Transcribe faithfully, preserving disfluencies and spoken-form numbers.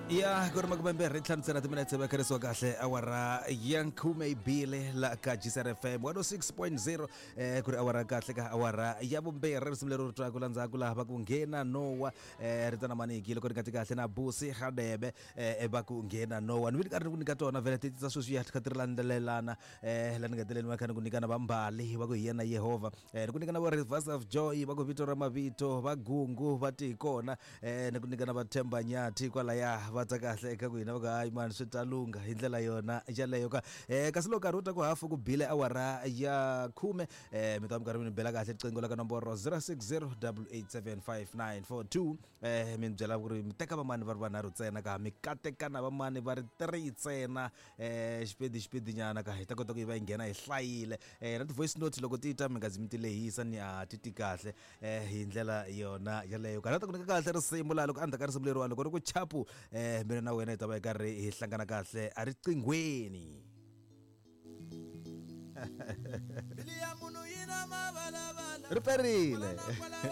Ya ku ri makume mbirhi ntlhanu ntsena timinetse va kherisiwa kahle awara ya khume bile la ka G C R F M one oh six point zero, eh ku ri awara kahle ka awara ya vumbirhi. Risimu leri ri twaka la ndzhaku laha va ku nghena Nowa, eh ri tana maniki loko ri nga ti kahle na Busi Hadebe, eh va ku nghena Nowa. Ni vi karhi ni ku nyika tona vhele ti ta sweswi ya kha ti ri landzelelana, eh la ni nga teleni va kha ni ku nyika na vambali va ku hi yena Yehovha, eh ni ku nyika na va Rivers of Joy va ku vito ra mavito, va Gungu va ti hi kona, eh ni ku nyika na va Themba Nyathi kwalaya va ta kahle eka ku hina va ku hayi mani swi ta lungha hi ndlela yona yaleyo ka. eh kasi loko nkarhi wu ta ku hafu ku bile awara ya khume, eh mi ta mi karhi mi ni bela kahle riqingho la ka nomboro zero six zero eight eight seven five nine four two, eh mi ni byela ku ri mi teka vamani va ri vanharhu ntsena ka mi katekana vamani va ri three ntsena, eh xipedi xipedi nyana ka hi ta kota ku yi va yi nghena hi hlayile. eh na ti-voice note loko ti ta mi nga zi mi ti lehisa ni a ti ti kahle, eh hi ndlela yona yaleyo ka. Na ta ku nyika kahle risimu laha loko endzhaku ka risimu leriwa loko ri ku chapu, eh mina na wena hi ta va hi karhi hi hlangana kahle eriqinghweni. Mbilu ya munhu yi na mavalavala. Ri perile. Kwala na kwala.